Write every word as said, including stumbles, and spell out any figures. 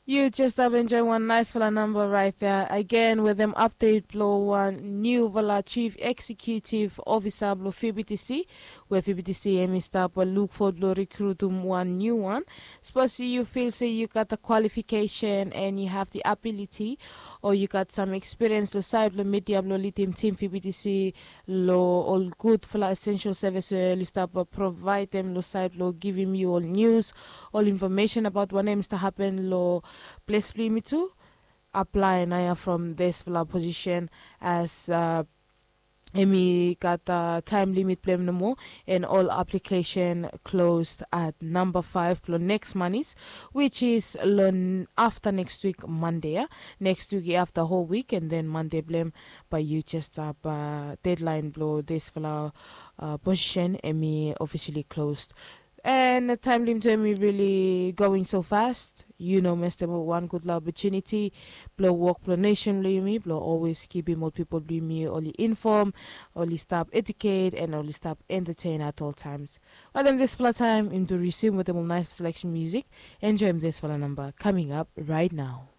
Yu jes stap enjoim wan naisfala namba raet ya agen wetem apdet blong wan niufala jif eksekutiv ofisa blong fibitisi, we fibitisi hem i stap lukfod blong rikrutum wan niu wan. Sapos yu fil se yu gat da kwalifikesen en yu have di abiliti, o yu gat sam ekspiriens long saed blong midia blong lidim tim fibitisi long ol gudfala esensel sevis we oli stap provaedem long saed blong givim yu ol nius, ol infomesen abaot wanem i stap hapen long ples blong yumi tu. Aplae naoia from disfala posisen as hem i gat taem limit blong hem nomo, and ol aplikesen klos at namba faef blong neks manis, wis is long afta neks wik mande ya. Neks wik i afta hol wik and then mande blong hem, bae yu jes stap dedlaen blong disfala posisen hem i ofisili klos. And taem limit hem i rili going so fast. Yu no mestem ol wan gudfala opotuniti blong wok blong nesen blong yumi blong olwes kipim ol pipol blong yumi oli infom, oli stap eduket and oli stap entetein at ol taems. Wetem disfala taem yumi tu risum wetem ol naes seleksen musik. Enjoim disfala namba kaming ap raet nao.